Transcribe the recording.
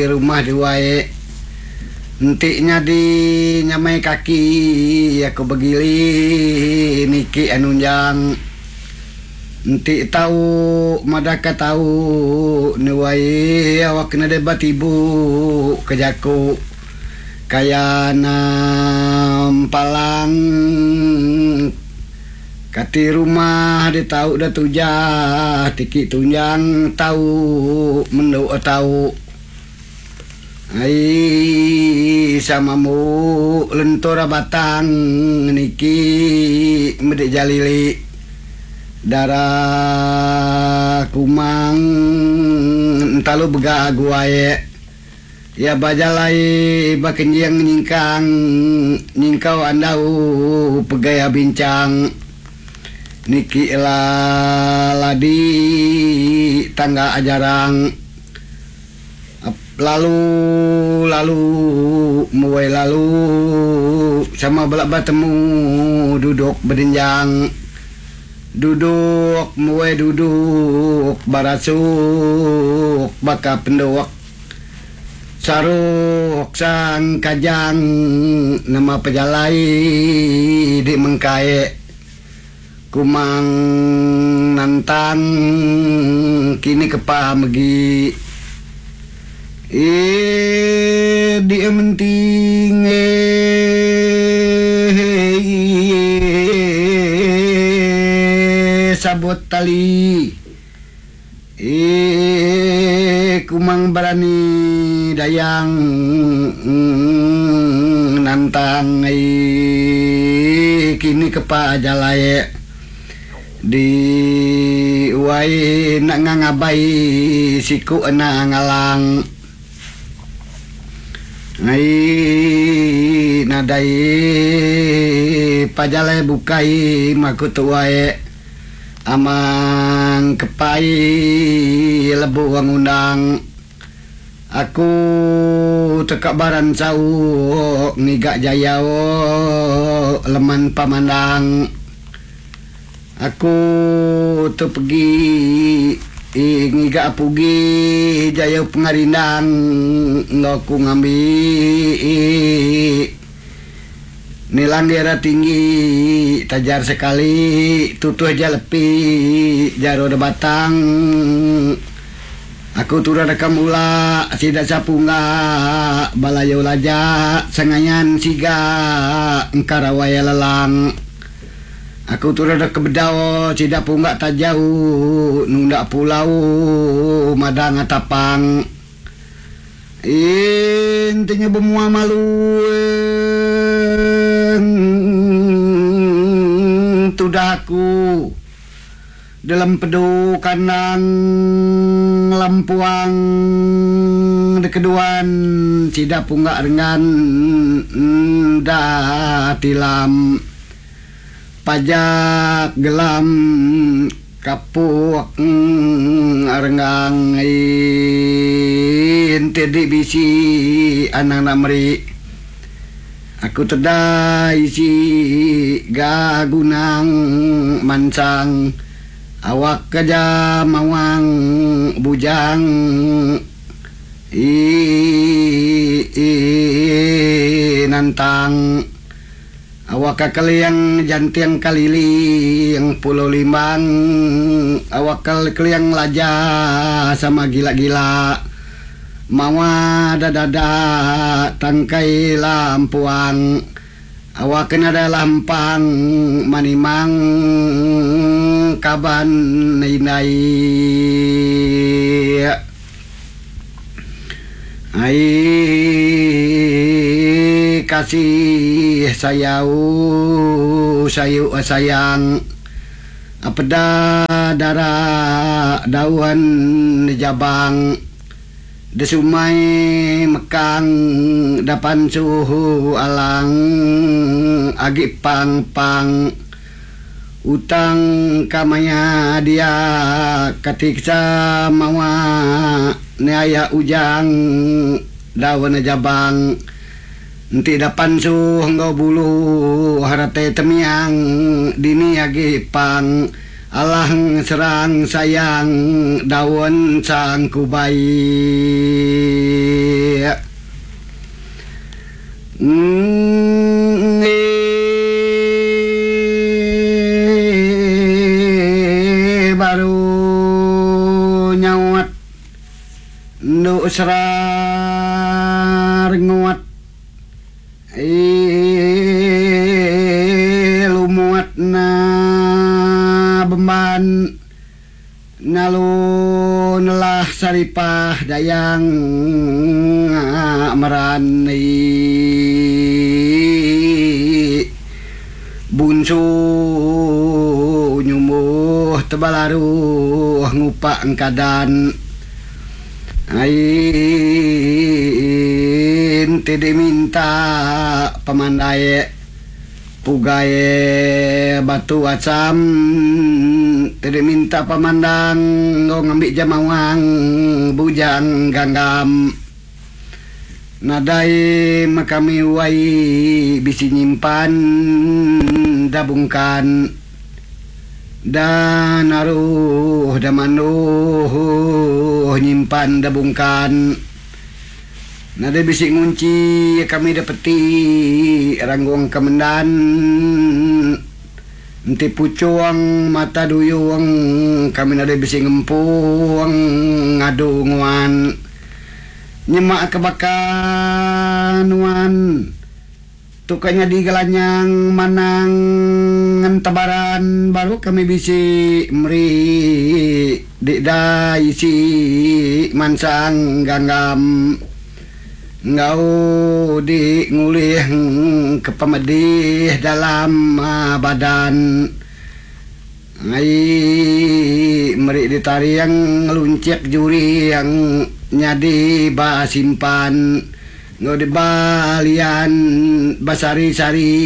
Rumah duai enti nyadi nyamai kaki aku begili niki anunjang enti tau madah ka tau nuai awak nadai batibu ke jaku kaya nampalang. Kati rumah di tau da tujah tiki tunjang tau mendu tau. Ai sama mu lentur batang niki medi jalili dara kumang entalu bega guai. Iya ba jalai ba kenjing nyingkang nyingkau andau pegai binchang niki la ladi tangga jarang lalu lalu muai lalu sama bela betemu duduk bedenjang duduk muai duduk barasuk baka penduk. Saruk sang kajang nama pejalai di mengkai kumang nantang kini kepa megi ii di menting eii sabut tali. Eii kumang berani dayang nantang eii kini kepa jalai di wai enda ngangabai siku enda ngalang eii nadai pajalai bukai maku tuai. Amang kepai lebuh ngundang aku teka beransau ngiga jayau leman pemandang. Aku tu pegi ngiga pugi jayau pengerindang enggau aku ngambi. Nilang dira tinggi tajar sekali tutuh ja lepi jaro da batang. Aku turah deka mula sida sapungga bala yau laja sengayan siga engka rawai lelang. Aku turah deka bedau sida pungga tajau nunda pulau madang atapang. Enti nya bemua malu tudah aku dalam pedu kandang lempuang dikeduan sida pungga renggan enda tilam. Pajak gelam kapuk renggang enti di bisi anang enda meri. Aku teda isi ga gunang mansang awak ke ja mawang bujang ii nantang. Awakka keling janting keliling Pulau Limbang, awakka keling laja sama gila-gila mawa da dada tangkai lampuang, awakka nadai lampang manimang kaban indai. Ai kasih sayau sayu sayang peda dara daun jabang desumai mekang dapan suhu alang agi pang pang. Utang ka maya dia katiksa mawa ne aya ujang daun jabang enti da pansuh enggau bulu harate temiang dini agi pang. Alah serang sayang daun sangkubai. Enggi baru nyaut endu serar nguat. Ii lumut na bemban nalu nelah saripah dayang meran ii bunsu nyumbuh tebal aruh ngupak engkadan. Ain ti diminta pemandai pugai batu asam ti diminta pemandang enggau ngambi jemawang bujang ganggam. Nadai meh kami wai bisi nyimpan da bungkan. Da naruh da manduh nyimpan da bungkan. Nadai bisi ngunchi kami da peti ranggung ke mendan. Enti puchung mata duyung kami nadai bisi ngempung ngadu nguan. Nyema ke baka nuan. Tu ka nyadi gelanyang manang entebaran baru kami bisi meri dida isi mansang ganggam enggau di ngulih ke pemedih dalam badan. Ai meri ditaring ngelunchik juring nyadi ba simpan enggau di ba lian ba sari-sari.